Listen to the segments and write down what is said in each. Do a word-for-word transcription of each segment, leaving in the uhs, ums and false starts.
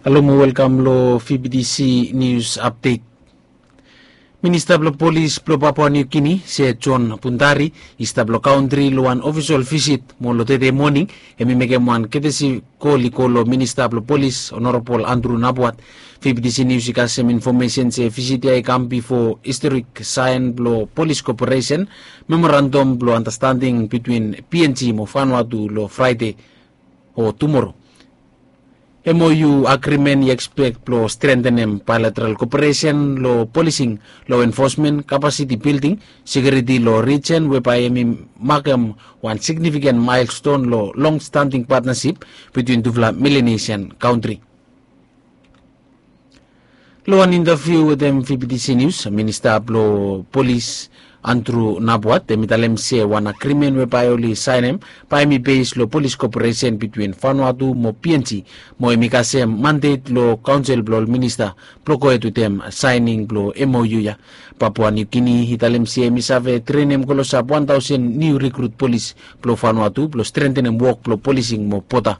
Halo mo welkam long V B T C News Update. Minista blong Polis blong Papua New Guinea, Sir John Pundari, i stap long kantri long wan ofisol visit mo long tede moning, hemi mekem wan ketesi kol i go long Minista blong Polis, Honorable Andrew Napuat. V B T C News i kasem infomesen se visit ya i kam bifo historik saen blong Polis Koperesen, memorandum blong andastanding bitwin P N G mo Vanuatu long Fraede o tumoro. M O U agrimen i ekspek blong strentenem baelateral koperesen long polising, lo enfosmen, kapasiti bilding, sekiuriti long rijen, we bae hemi makem wan signifiken maelston long longstanding patnasip bitwin tufala Melanesian kantri. Long wan intaviu wetem V B T C News, Minista blong Polis Andrew Napuat, hemi talem se wan agrimen we bae oli saenem bae hemi bes long polis koperesen bitwin Vanuatu mo P N G, mo hemi kasem mandet long kaonsel blong ol minista blong gohed wetem saening blong M O U ya. Papua New Guinea i talem se hemi save trenem klosap wan taosen niu rikrut polis blong Vanuatu blong strentenem wok blong polising mo bota.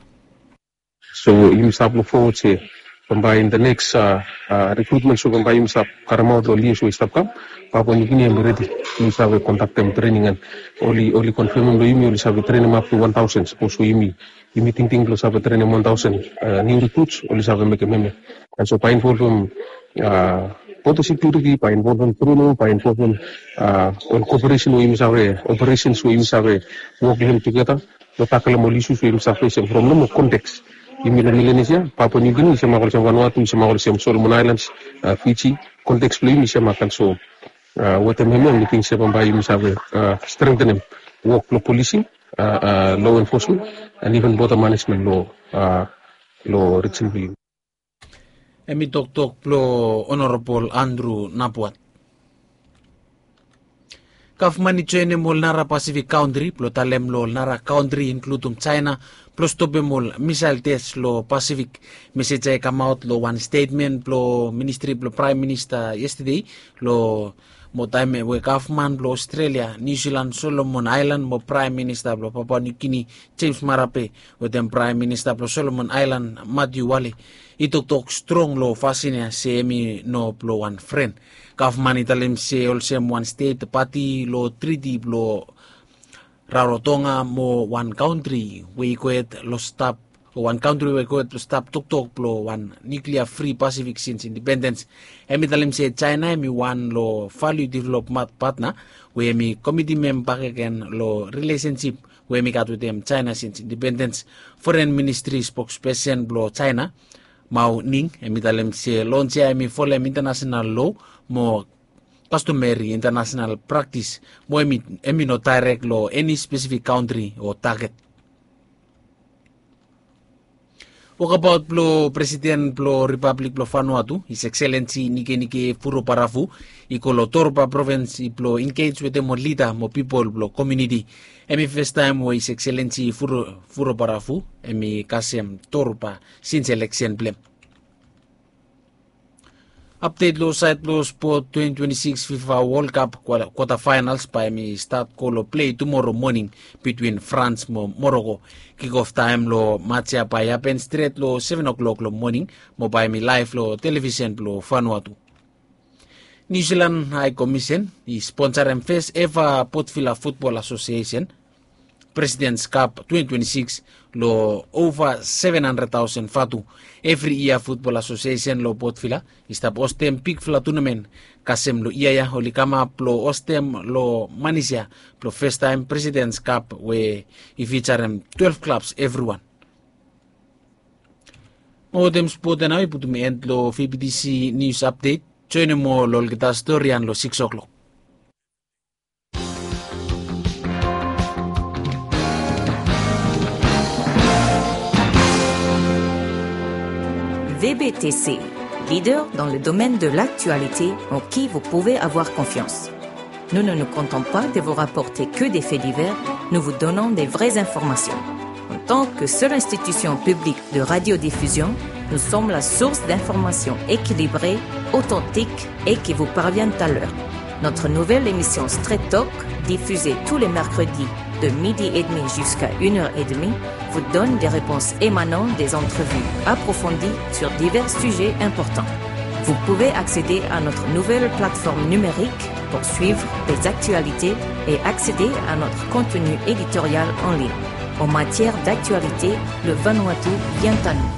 So yumi stap luk fowod se bambae in the next rikrutmen, so bambae yumi stap karemaot long ol yia we i stap kam, Papua New Guinea hemi redi blong save kondaktem trening, and oli, oli konfemem long yumi oli save trenem ap tu wan taosen. Sapos we yumi, yumi tingting blong save trenem wan taosen niu rikruts, oli save mekem hemia. And so bae involvem bota sekiuriti, bae involvem trening, bae involvem ol koperesen we yumi save, operesens we yumi save wok long hem tugeta long takelem ol isus we yumi save fesem from nomo konteks. Yumi long Melanesia, Papua New Guinea i semak olsem Vanuatu, i semak olsem Solomon Islands, Fiji. Konteks blong yumi i semak. And so wetem hemia mi ting se bambae yumi save strentenem wok blong polising, law enforcement, and even border management long, long rijen blong yumi. Hemi toktok blong Honorable Andrew Napuat. Gavman i joenem ol nara Pasifik kantri blong talem long ol nara kantri, inkludim Jaena, blong stopem ol misael tes long Pasifik. Mesej ya i kamaot long wan stetmen blong Ministri blong Praem Minista yestede, long mo taem we gavman blong Ostrelia, Niu Silan, Solomon Aelan mo Praem Minista blong Papua Niu Gini, Jems Marape, wetem Praem Minista blong Solomon Aelan, Matiu Wale, i toktok strong long fasin ya se hemi no blong wan fren. Gavman i talem se olsem wan stet pati long triti blong Rarotonga mo wan kantri we i gohed long stap, o wan kantri we i gohed long stap toktok blong wan niuklia fri Pasifik sins indipendens. Hemi talem se Jaena hemi wan long valiu development patna we hemi komitimem bakegen long rilesensip we hemi gat wetem Jaena sins indipendens. Foren Ministri spokspesen blong Jaena, Mao Ning, hemi talem se lons ya hemi folem intanasenal loa mo kastomeri intanasenal praktis, mo hemi, hemi no daerek long eni spesifik kantri o taget. Wokbaot blong Presiden blong Ripablik blong Vanuatu, His Excellency Nikenike Vurobaravu, i go long Torba provins blong engej wetem ol lida mo pipol blong komuniti. Hemi festaem we His Excellency Vuro, Vurobaravu hemi kasem Torba sins eleksen blong hem. Apdet long saed blong spot, twenty twenty-six FIFA World Cup kwata, kwata faenals bae hemi stat go long plei tumoro moning bitwin Frans mo Moroko. Kikof taem long mats ya bae i hapen stret long seven o'clock long moning, mo bae hemi laef long televisen blong Vanuatu. Niu Silan Hae Komisen i sponsarem fes eva Port Vila Futbol Asosiesen Presidents Cup twenty twenty-six long ova seven hundred thousand vatu. Evri yia Futbol Asosiesen long Port Vila i stap hostem bigfala tunamen. Kasem long yia ya oli kamap blong hostem long Manis ya blong festaem Presidents Cup we i fijarem twelve klabs evriwan. Mo wetem spot ya nao i putum en long V B T C News Update. Joenem moa long olgeta storian long six o'clock. V B T C, leader dans le domaine de l'actualité en qui vous pouvez avoir confiance. Nous ne nous contentons pas de vous rapporter que des faits divers, nous vous donnons des vraies informations. En tant que seule institution publique de radiodiffusion, nous sommes la source d'informations équilibrées, authentiques et qui vous parviennent à l'heure. Notre nouvelle émission Straight Talk, diffusée tous les mercredis de midi et demi jusqu'à une heure et demie, vous donne des réponses émanant des entrevues approfondies sur divers sujets importants. Vous pouvez accéder à notre nouvelle plateforme numérique pour suivre les actualités et accéder à notre contenu éditorial en ligne. En matière d'actualité, le Vanuatu vient à nous.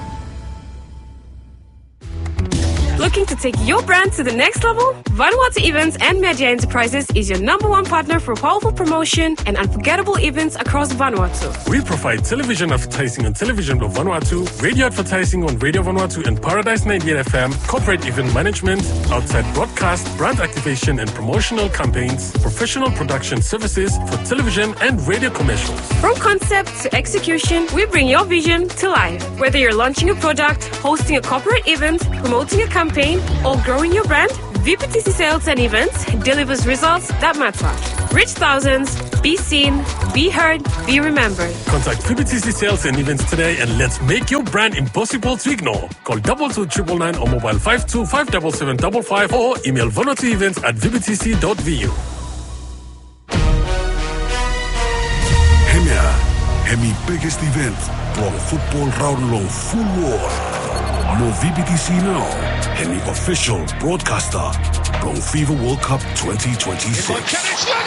Looking to take your brand to the next level? Vanuatu Events and Media Enterprises is your number one partner for powerful promotion and unforgettable events across Vanuatu. We provide television advertising on Television of Vanuatu, radio advertising on Radio Vanuatu and Paradise ninety-eight F M, corporate event management, outside broadcast, brand activation and promotional campaigns, professional production services for television and radio commercials. From concept to execution, we bring your vision to life. Whether you're launching a product, hosting a corporate event, promoting a campaign, or growing your brand, V P T C Sales and Events delivers results that matter. Reach thousands, be seen, be heard, be remembered. Contact V P T C Sales and Events today and let's make your brand impossible to ignore. Call double two triple nine or mobile five two five double seven double five or email vanuatuevents at V P T C dot V U. Hemia hemi biggest event blong futbol raon long ful wol. Mo V P T C nao hemi official broadcaster blong FIFA World Cup twenty twenty-six.